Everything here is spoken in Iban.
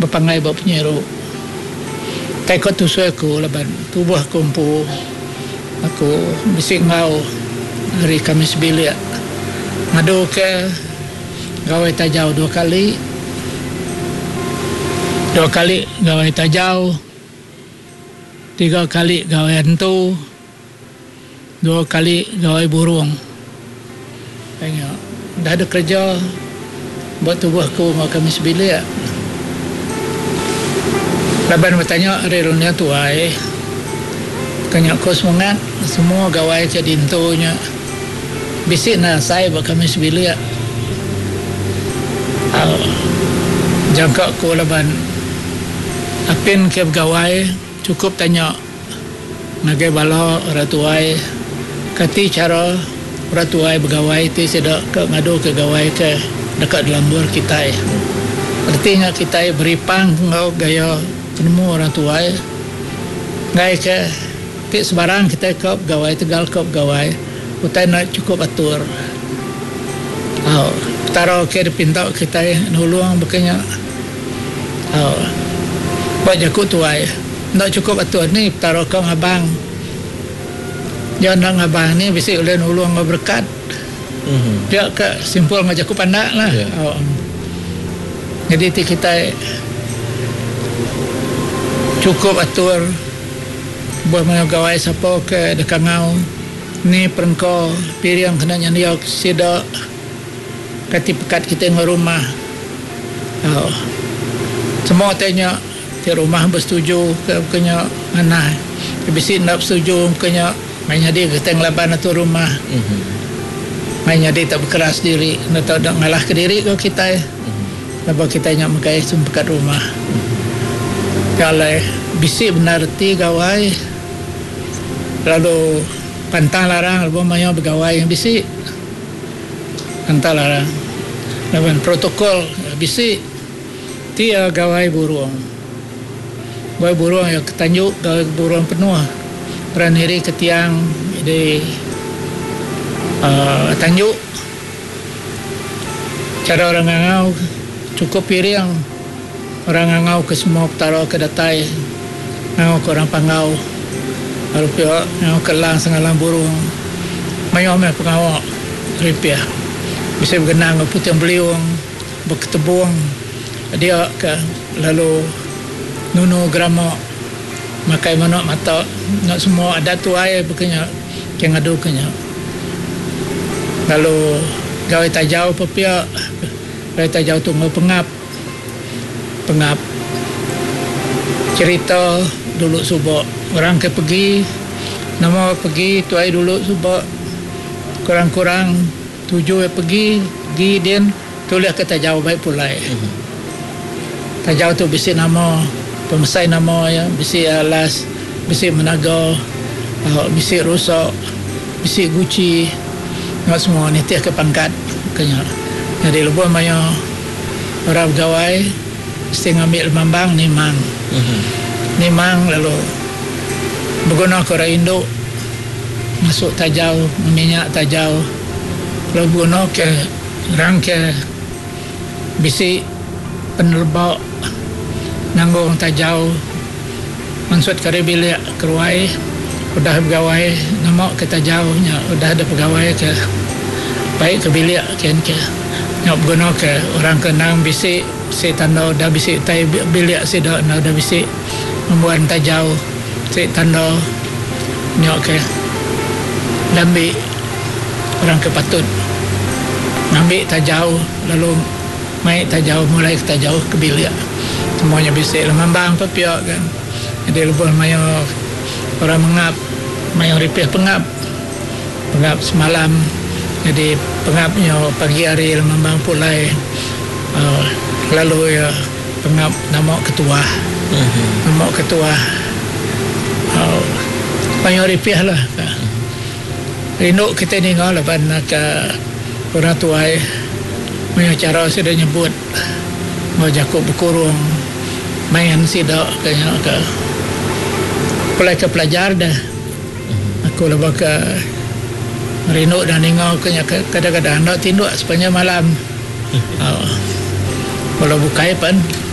Bepanggai ba penyiru. Kai ko tusui aku laban tubuh aku empu aku bisi enggau ari kami sebilik ngadu ke gawai tajau dua kali. Dua kali gawai tajau, tiga kali gawai antu. Dua kali gawai burung. Ai nya udah deh kereja ba tubuh aku enggau kami sebilik. Laban betanya ari runding tuai ke nya ko semengat semua gawai ke dintu nya bisi enda asai ba kami sebilik. Au jangka ku laban apin ke begawai chukup tanya. Ngagai bala orang tuai, kati chara orang tuai begawai ti sida ke ngaduka gawai ke deka dilambur kitai. Reti nya kitai beripang enggau gaya penemu orang tuai enggai ke ti sebarang kitai ka begawai tegal ka begawai utai enda chukup atur. Au Petara ke dipinta kitai nulung baka nya. Au ba jaku tuai. Enda chukup atur ni Petara ka ngabang. Iya enda ngabang ni bisi ulih nulung enggau berekat. Pia ka simpul enggau jaku pandak lah. Nyadi ti kitai chukup atur lebuh maya gawai sapa ke deka ngau ni perengka piring kena nyendia sida kati pekat kitai enggau rumah. Semua ti nya. Ti rumah besetuju ke ke nya manah. Ti bisi enda besetuju ke nya mai nyadi kitai ngelaban atur rumah. Mai nyadi tak bekeras diri enda tau deka ngalah ke diri ko kitai. Laban kitai nya megai sempekat rumah. Nya alai bisi bendar reti gawai lalu pantang larang lebuh maya begawai bisi pantang larang laban protokol bisi. Ti iya gawai burung. Gawai burung iya ke tanju gawai burung penuh orang niri ke tiang di uhh tanju. Chara orang ngangau chukup piring orang ngangau ke semua petara ke datai ngangau ke orang panggau lalu pia ngangau ke elang sengalang burung mayuh meh pengawa ripih bisi begenang enggau puting beliung. Beketebung dia ke lalu nunu gerama makai manok mata nya semua adat tuai baka nya ke ngadu ke nya. Lalu gawai tajau pun pia gawai tajau tu enggau pengap pengap cherita dulu suba orang ke pegi nama pegi tuai dulu suba kurang kurang Tuju iya pegi, gi din tulih ke tajau bai pulai. Tajau tu bisi nama, pemesai nama iya bisi alas, bisi menaga, bisi rusa, bisi guchi enggau semua nitih ke pangkat ke nya. Nyadi lebuh maya orang begawai mesti ngambi lemambang nimang. Nimang lalu beguna ke orang indu. Masuk tajau minyak tajau lalu beguna ke orang ke bisi peneleba nanggung tajau mansut ke ari bilik keruai udah begawai nama ke tajau nya udah deh pegawai ke baik ke bilik kian ke nya beguna ke orang ke endang bisi bisi tanda udah bisi utai bilik sida enda udah bisi ngembuan tajau. Ti tanda nya ke diambi orang ke patut ngambi tajau lalu mai tajau mulai ke tajau ke bilik. Semua nya bisi lemambang pun pia kan. Jadi lebuh maya orang mengap maya ripih pengap, pengap semalam jadi pengap nya pagi hari lemambang pulai uhh lalu iya pengap nama ketuah. Nama ketuah uhh mayuh ripih lah. Rindu kitai ninga laban ka orang tuai mayuh chara sida nyebut enggau jaku bekurung main sida ka nya ka pulai ka pelajar deh. Aku lebuh ka rindu dah ninga ka nya kadang-kadang enda tinduk sepanjang malam uhh bala bukai pen.